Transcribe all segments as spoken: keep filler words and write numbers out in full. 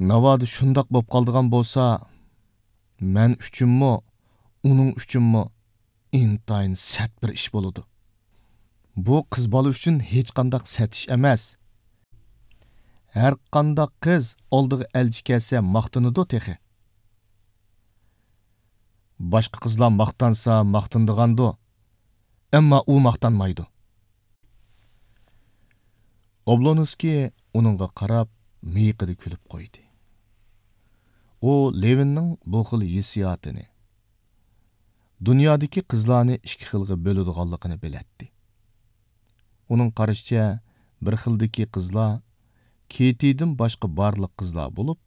ناۋادا شۇنداق بولۇپ قالىدىغان بولسا، مەن ئۈچۈنمۇ، ئۇنىڭ ئۈچۈنمۇ ئىنتايىن سەت بىر ئىش بولىدۇ. بۇ قىز بالا ئۈچۈن ھېچقانداق سەت ئىش ئەمەس. ھەرقانداق قىز ئالدىغا ئەلچى كەلسە ماختىنىدۇ تېخى. باشقا قىزلار ماختانسا ماختىنىدىغاندۇ، ئەمما ئۇ ماختانمايدۇ. ئوبلونسكىي ئۇنىڭغا قاراپ مىيىقىدا كۈلۈپ قويدى. ئۇ لېۋىننىڭ بۇ خىل ھېسسىياتىنى، دۇنيادىكى قىزلارنى ئىككى خىلغا بۆلىدىغانلىقىنى بىلەتتى. ئۇنىڭ قارىشىچە، بىر خىلدىكى قىزلار كېتىدىن باشقا بارلىق قىزلار بولۇپ،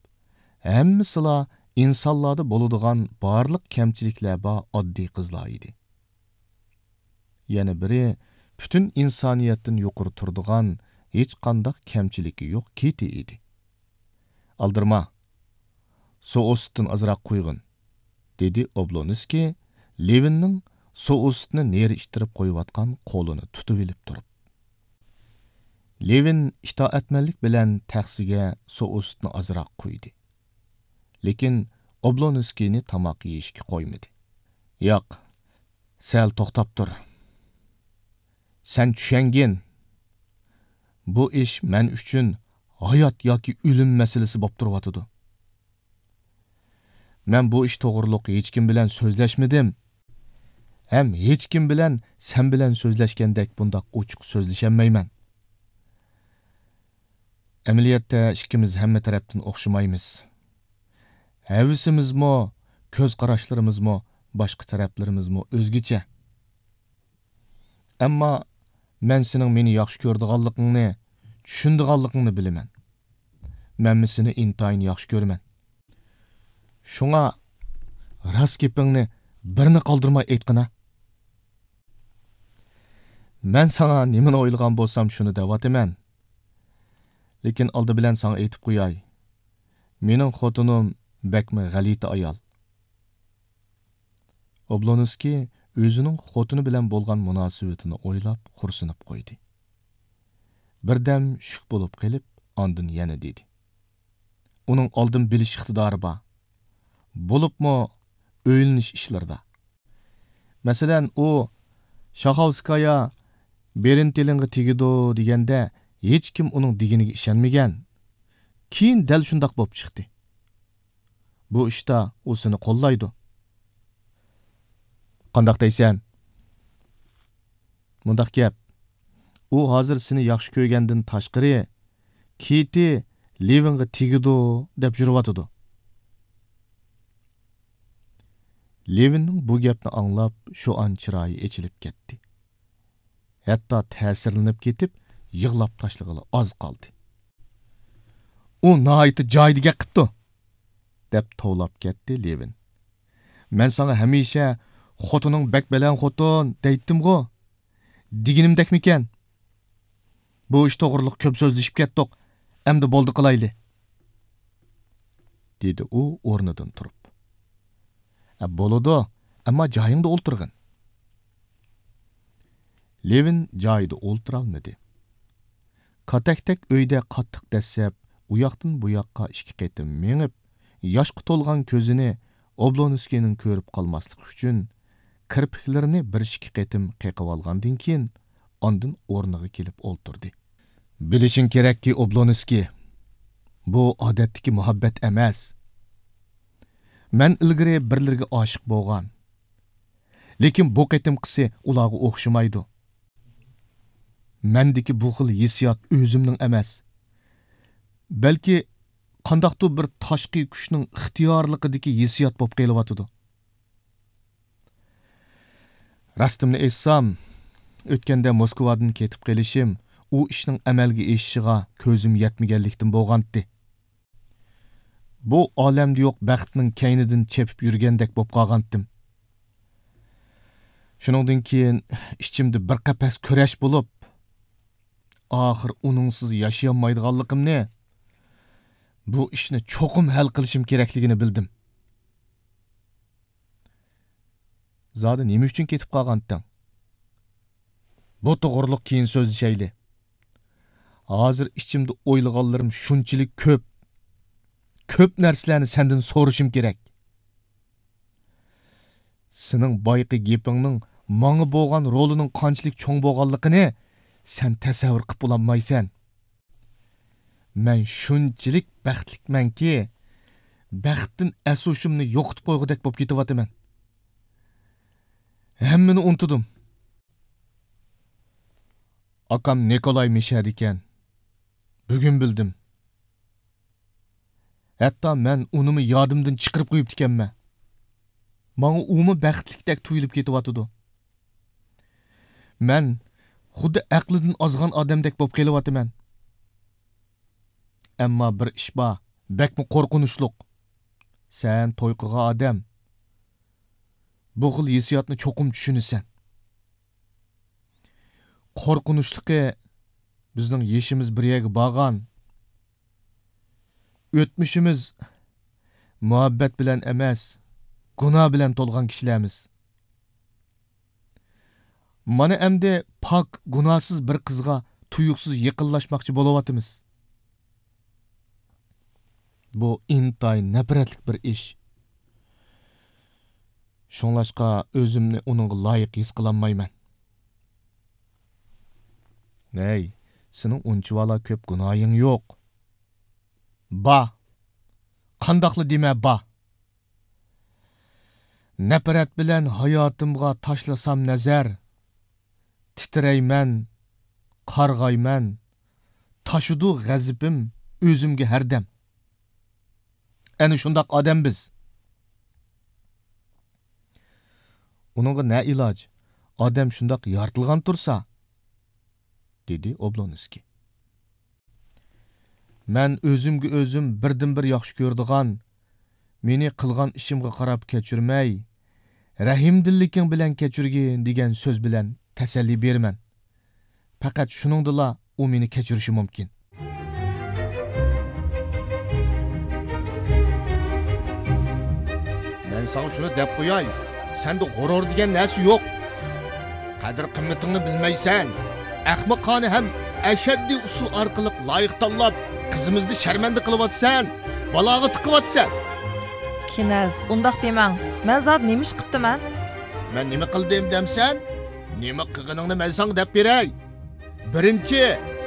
ھەممىسىلا ئىنسانلاردا بولىدىغان بارلىق كەمچىلىكلەر بار ئاددىي قىزلار ئىدى. يەنە بىرى پۈتۈن ئىنسانىيەتتىن يۇقىرى تۇرىدىغان ھېچقانداق كەمچىلىكى يوق كېتى ئىدى. «ئالدىرىما، سوئۇستتىن ئازراق قۇيغىن»، دېدى ئوبلونسكىي لېۋىننىڭ سوئۇستنى نېرى ئىتتىرىپ قويۇۋاتقان قولىنى تۇتۇۋېلىپ تۇرۇپ. لېۋىن ئىتائەتمەنلىك بىلەن تەخسىگە سوئۇستنى ئازراق قۇيدى. لېكىن ئوبلونسكىينى تاماق يېيىشكە قويمىدى. «ياق، سەل توختاپ تۇر. سەن چۈشەنگىن، بۇ ئىش مەن ئۈچۈن ھايات ياكى ئۆلۈم مەسىلىسى بولۇپ تۇرۇۋاتىدۇ. مەن بۇ ئىش توغرۇلۇق ھېچكىم بىلەن سۆزلەشمىدىم. ھەم ھېچكىم بىلەن سەن بىلەن سۆزلەشكەندەك بۇنداق ئوچۇق سۆزلىشەلمەيمەن. ئەمەلىيەتتە ئىككىمىز ھەممە تەرەپتىن ئوخشىمايمىز. ھەۋىسىمىزمۇ، كۆز قاراشلىرىمىزمۇ باشقا تەرەپلىرىمىزمۇ ئۆزگىچە. ئەمما مەن سېنىڭ مېنى ياخشى كۆرىدىغانلىقىڭنى، چۈشىنىدىغانلىقىڭنى بىلىمەن. مەنمۇ سېنى ئىنتايىن ياخشى كۆرىمەن. شۇڭا راست گېپىڭنى بىرنى قالدۇرماي ئېيتقىنا. مەن ساڭا نېمىنى ئويلىغان بولسام، شۇنى دەۋاتىمەن. لېكىن ئالدى بىلەن ساڭا ئېيتىپ قوياي، مېنىڭ خوتۇنۇم بەكمۇ غەلىتە ئايال.» ئوبلونسكىي ئۆزىنىڭ خوتۇنى بىلەن بولغان مۇناسىۋىتىنى ئويلاپ خورسىنىپ قويدى. بىردەم شۈك بولۇپ قېلىپ، ئاندىن يەنە دېدى: «ئۇنىڭ ئالدىن بىلىش ئىقتىدارى بار. بولۇپمۇ ئۆيلىنىش ئىشلىرىدا. مەسىلەن، ئۇ شاخاۋسكايا بېرىنتېلىنغا تېگىدۇ دېگەندە، ھېچكىم ئۇنىڭ دېگىنىگە ئىشەنمىگەن. كېيىن دەل شۇنداق بولۇپ چىقتى. بۇ ئىشتا ئۇ سېنى قوللايدۇ.» «قانداق دەيسەن؟» «مۇنداق گەپ، ئۇ ھازىر سېنى ياخشى كۆرگەندىن تاشقىرى، كېتى لېۋىنغا تېگىدۇ دەپ يۈرۈۋاتىدۇ.» لېۋىننىڭ بۇ گەپنى ئاڭلاپ، شۇ ئان چىرايى ئېچىلىپ كەتتى. ھەتتا تەسىرلىنىپ كېتىپ، يىغلاپ تاشلىغىلى ئاز قالدى. «ئۇ ناھايىتى جايىدا گەپ قىپتۇ!» دەپ توۋلاپ كەتتى لېۋىن. «مەن ساڭا ھەمىشە خوتۇنۇڭ بەك بەلەن خوتۇن دەيتتىمغۇ؟ دېگىنىمدەكمىكەن؟ بۇ ئىش توغرۇلۇق كۆپ سۆزلىشىپ كەتتۇق، ئەمدى بولدى قىلايلى.» دېدى ئۇ ئورنىدىن تۇرۇپ. «ئە، بولىدۇ، ئەمما جايىڭدا ئولتۇرغىن.» لېۋىن جايىدا ئولتۇرالمىدى. كاتەكتەك ئۆيدە قاتتىق دەسسەپ، ئۇياقتىن بۇياققا ئىككى قېتىم مېڭىپ، ياشقا تولغان كۆزىنى ئوبلونسكىينىڭ كۆرۈپ قالماسلىقى ئۈچۈن، كىرپىكلىرىنى بىر ئىككى قېتىم قېقىۋالغاندىن كېيىن، ئاندىن ئورنىغا كېلىپ ئولتۇردى. «بىلىشىڭ كېرەككى، ئوبلونسكىي، بۇ ئادەتتىكى مۇھەببەت ئەمەس. مەن ئىلگىرى بىرلىرىگە ئاشىق بولغان. لېكىن بۇ قېتىمقىسى ئۇلارغا ئوخشىمايدۇ. مەندىكى بۇ خىل ھېسسىيات ئۆزۈمنىڭ ئەمەس، بەلكى قانداقتۇر بىر تاشقى كۈچنىڭ ئىختىيارلىقىدىكى ھېسسىيات بولۇپ قېلىۋاتىدۇ. راستىمنى ئېيتسام، ئۆتكەندە موسكۋادىن كېتىپ قېلىشىم ئۇ ئىشنىڭ ئەمەلگە ئېشىشىغا كۆزۈم يەتمىگەنلىكتىن بولغانتى. بۇ ئالەمدە يوق بەختنىڭ كەينىدىن چېپىپ يۈرگەندەك بولۇپ قالغانتىم. شۇنىڭدىن كېيىن ئىچىمدە بىر قەپەس كۈرەش بولۇپ، ئاخىر ئۇنىڭسىز ياشىيالمايدىغانلىقىمنى، بۇ ئىشنى چوقۇم ھەل قىلىشىم كېرەكلىكىنى بىلدىم.» «زادى نېمە ئۈچۈن كېتىپ قالغانتىڭ؟ بۇ توغرۇلۇق كېيىن سۆزلىشەيلى. ھازىر ئىچىمدە ئويلىغانلىرىم شۇنچىلىك كۆپ، كۆپ نەرسىلەرنى سەندىن سورىشىم كېرەك. سېنىڭ بايىقى گېپىڭنىڭ ماڭا بولغان رولىنىڭ قانچىلىك چوڭ بولغانلىقىنى سەن تەسەۋۋۇر قىلىپ بولالمايسەن. مەن شۇنچىلىك بەختلىكمەنكى، بەختتىن ئەس-ھوشۇمنى يوقىتىپ قويغۇدەك بولۇپ كېتىۋاتىمەن. ھەممىنى ئۇنتۇدۇم. ئاكام نىكولاي مىشەدىكەن. بۈگۈن بىلدىم. ھەتتا مەن ئۇنىمۇ يادىمدىن چىقىرىپ قويۇپتىكەنمەن. ماڭا ئۇمۇ بەختلىكتەك تۇيۇلۇپ كېتىۋاتىدۇ. مەن خۇددى ئەقلىدىن ئازغان ئادەمدەك بولۇپ قېلىۋاتىمەن. ئەمما بىر ئىش بار، بەكمۇ قورقۇنچلۇق. سەن توي قىلغان ئادەم بۇ خىل ھېسسىياتنى چوقۇم چۈشىنىسەن. قورقۇنچلۇقى، بىزنىڭ يېشىمىز بىر يەرگە بارغان. ئۆتمۈشىمىز مۇھەببەت بىلەن ئەمەس، گۇناھ بىلەن تولغان كىشىلەرمىز. مانا ئەمدى پاك، گۇناھسىز بىر قىزغا تۇيۇقسىز يېقىنلاشماقچى بولۇۋاتىمىز. بۇ ئىنتايىن نەپرەتلىك بىر ئىش. شۇڭلاشقا ئۆزۈمنى ئۇنىڭغا لايىق ھېس قىلالمايمەن. ھەي، سېنىڭ ئۇنچىۋالا كۆپ گۇناھىڭ يوق. با. قانداقلا دېمە، با. نەپرەت بىلەن ھاياتىمغا تاشلىسام نەزەر، تىترەيمەن، قارغايمەن، تاشىدۇ غەزىپىم ئۆزۈمگە ھەردەم. ئەنە شۇنداق ئادەم بىز. ئۇنىڭغا نە ئىلاج؟ ئادەم شۇنداق يارىتىلغان تۇرسا، دېدى ئوبلونسكىي. مەن ئۆزۈمگە ئۆزۈم بىردىنبىر ياخشى كۆرىدىغان، مېنى قىلغان ئىشىمغا قاراپ كەچۈرمەي، رەھىمدىللىكىڭ بىلەن كەچۈرگىن دېگەن سۆز بىلەن تەسەللى بېرىمەن. پەقەت شۇنىڭدىلا ئۇ مېنى كەچۈرۈشى مۇمكىن. مەن ساڭا شۇنى دەپ قوياي، سەندە غۇرۇر دېگەن نەرسە يوق. قەدىر-قىممىتىڭنى بىلمەيسەن. ئەخمىقانە ھەم ئەشەددىي ئۇسۇل ئارقىلىق لايىق تاللاپ، قىزىمىزنى شەرمەندە قىلىۋاتىسەن، بالاغا تىقىۋاتىسەن. كىنەز، ئۇنداق دېمەڭ. مەن زادى نېمە ئىش قىپتىمەن؟ مەن نېمە قىلدىم دەمسەن؟ نېمە قىلغىنىڭنى مەن ساڭا دەپ بېرەي. بىرىنچى،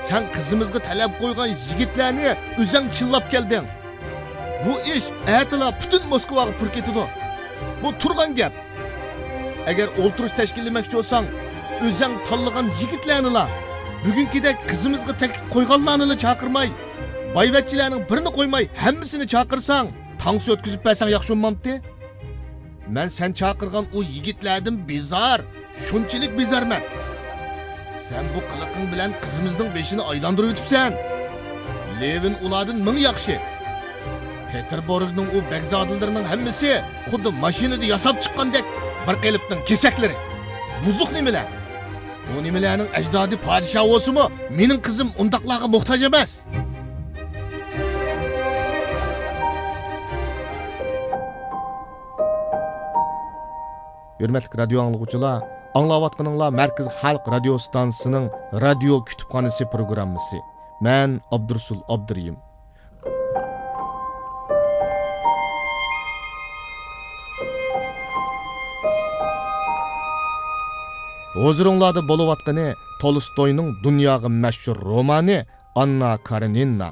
سەن قىزىمىزغا تەلەپ قويغان يىگىتلەرنى ئۆزەڭ چىللاپ كەلدىڭ. بۇ ئىش ئەتىلا پۈتۈن موسكۋاغا پۇر كېتىدۇ. بۇ تۇرغان گەپ. ئەگەر ئولتۇرۇش تەشكىللىمەكچى بولساڭ، ئۆزەڭ تاللىغان يىگىتلەرنىلا، بۈگۈنكىدەك قىزىمىزغا تەكلىپ قويغانلارنىلا چاقىرماي، بايۋەچچىلەرنىڭ بىرىنى قويماي ھەممىسىنى چاقىرساڭ، تانسا ئۆتكۈزۈپ بەرسەڭ ياخشى بولمامتى؟ مەن سەن چاقىرغان ئۇ يىگىتلەردىن بىزار، شۇنچىلىك بىزارمەن. سەن بۇ قىلىقىڭ بىلەن قىزىمىزنىڭ بېشىنى ئايلاندۇرۇۋېتىپسەن. لېۋىن ئۇلاردىن مىڭ ياخشى. پېتېربۇرگنىڭ ئۇ بەگزادىلىرىنىڭ ھەممىسى خۇددى ماشىنىدا ياساپ چىققاندەك بىر قېلىپنىڭ كېسەكلىرى. بۇزۇق نېمىلەر؟ ئۇ نېمىلەرنىڭ ئەجدادى پادىشاھ بولسىمۇ، مېنىڭ قىزىم ئۇنداقلارغا موھتاج ئەمەس. ھۆرمەتلىك رادىيو ئاڭلىغۇچىلار، ئاڭلاۋاتقىنىڭلار مەركىزىي خەلق رادىيو ستانسىسىنىڭ رادىيو كۇتۇپخانىسى پروگراممىسى. مەن ئابدۇرۇسۇل ئابدۇرېھىم. ھۇزۇرۇڭلاردا بولۇۋاتقىنى تولستوينىڭ دۇنياغا مەشھۇر رومانى ئاننا كارېنىنا.